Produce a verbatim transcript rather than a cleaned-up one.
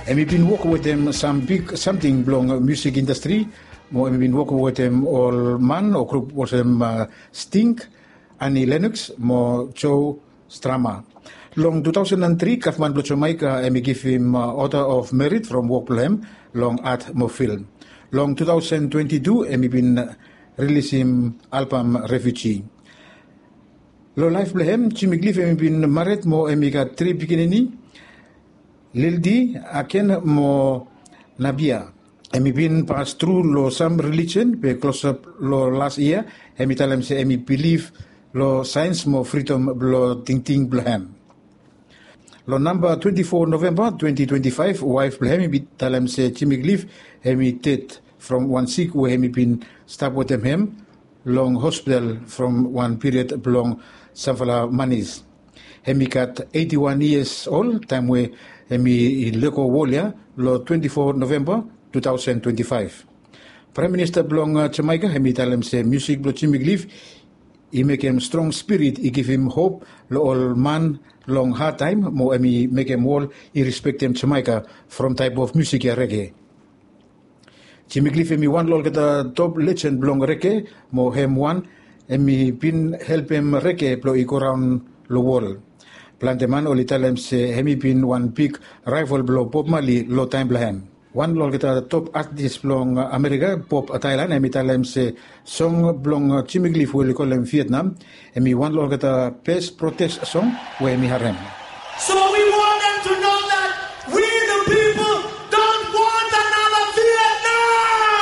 Em i bin wok wetem sam bik samting blong musik indastri, mo em i bin wok wetem ol man o grup olsem Sting, Annie Lennox mo Joe Strummer. Long two thousand and three, gavman blong Jamaika em i givim Order of Merit from wok blong hem long art mo film. Long two thousand twenty-two em i bin rilisim albam Refugee. Long laef blong hem, Jimmy Cliff em i bin mared mo em i gat tri pikinini, Lildi, Aken mo Nabia. Em i bin pas tru long sam relijion, be klosap long las yia em i talem se em i bilif long saens mo fridom blong tingting blong hem. Long namba twenty-four Novemba twenty twenty-five, waef blong hem i bin talem se Jimmy Cliff em i ded from wan sik we em i bin stap wetem hem long hospital from wan piriod blong samfala manis. Em i gat eighty-one years old taem we em i lego wol ya long twenty-four Novemba two thousand twenty-five. Praem Minista blong Jamaika em i talem se musik blong Jimmy Cliff i mekem strong spirit i givim hop long ol man long hadtaem mo em i mekem wol i respektem Jamaika from taep of musik ya, rege. Jimmy Cliff em i wan long olgeta top lejen blong rege, mo hem wan em i bin helpem rege blong i goraon long wol. Plante man oli talem se hem i bin wan big raevol blong Bob Marley long taem blong hem. Wan long olgeta top atis blong Amerika, Bob Dylan, em i talem se song blong Jimmy Cliff we oli kolem Vietnam em i wan long olgeta bes protest song we em i harem.